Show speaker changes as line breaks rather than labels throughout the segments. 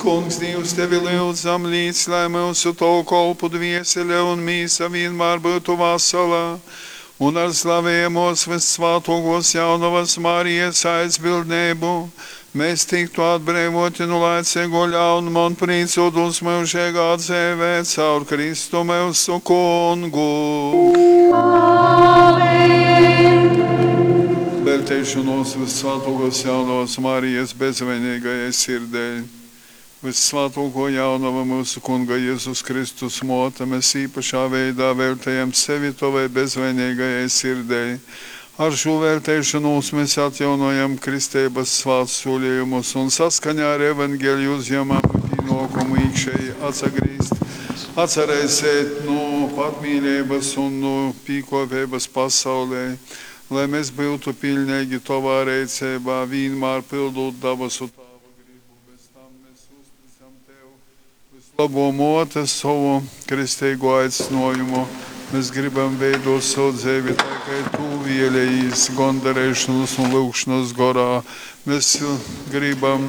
Kungs Dīvs, Tevi lyudzam, līc, lai myusu Tovu kolpu dviesele un mīsa vīnmār byutu vasala, un ar slavejamōs vyssvātōkōs Jaunovas Marijas aizbildneibu mēs tiktu atbreivōti nu laiceigō ļaunuma un prīcōtūs myužeigā dzeivē caur Kristu myusu Kungu. Velteišonos vyssvātōkōs Jaunovas Marijas bezvaineigajai sirdei. Vyssvātōkō Jaunova, myusu Kunga Jezus Kristus mōte, mēs īpašā veidā veltejam sevi Tovai bezvaineigajai sirdei. Ar šū velteišonūs mēs atjaunojam kristeibas svātsūlejumus un saskaņā ar Evangeliju uzjemam pīnōkumu īkšēji atsagrīzt, atsaraiseit nu patmīleibas un nu pīkōpeibas pasaulei, lai mēs byutu piļneigi Tovā reiceibā, vīnmār pyldūt dabasu Tāva gribu. Bez tam mēs uzticam Tev, vyslobō Mōte, sovu kristeigū aicynuojumu. Mēs gribam veidot sovu dzeivi tai, kai Tu vēlējīs, gondareišonas un lyugšonas gorā. Mēs gribam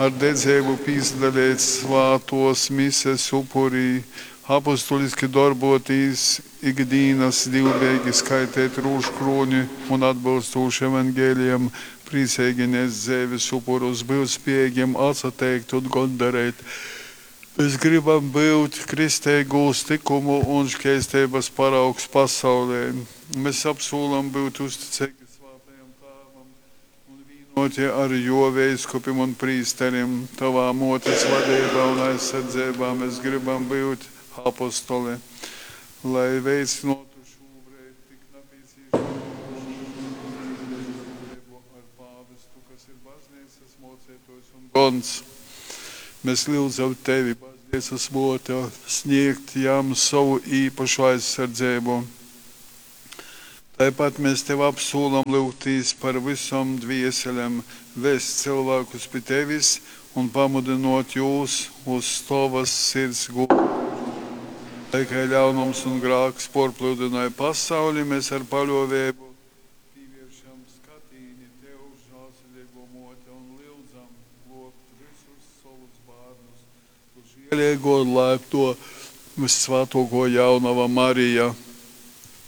ar dedzeibu pīsadaleit svātuos mises upurī, apostuliski dorbotīs ikdīnas, dīvbejeigi skaiteit rūžukrūni un atbylstūši Evangelijam prīceigi nest dzeives upurus, byut spiejeigim atsateikt un gondareit. Mēs gribam byut kristeigūs tykumu un škeisteibas paraugs pasaulei. Mēs apsūlam byut uzticeigi Svātajam Tāvam un vīnuoti ar juo veiskupim un prīsterim. Tovā muotes vadeibā un aizsardzeibā mēs gribam byut apostoli, lai veicynuotu šūbreid tik napīcīšamū draudzeibu ar pāvestu, kas ir bazneicas muoceituojs un gons. Mēs lyudzam Tevi, bazneicas muote, sniegt jam sovu īpašu aizsardzeibu. Taipat mēs Tev apsūlam lyugtīs par vysom dvieselem, vest cylvākus pi Tevis un pamudynuot jūs uz Tovas sirds gūdynuošonu. Tai kai ļaunums un grāks puorplyudynoj pasauli, mēs ar paļuoveibu pīvieršam skatīni Tev, žālsirdeiguo Muote, un lyudzam gluobt vysus sovus bārnus. Tu žieleiguo un laipnuo vyssvātuokuo Jaunova Marija.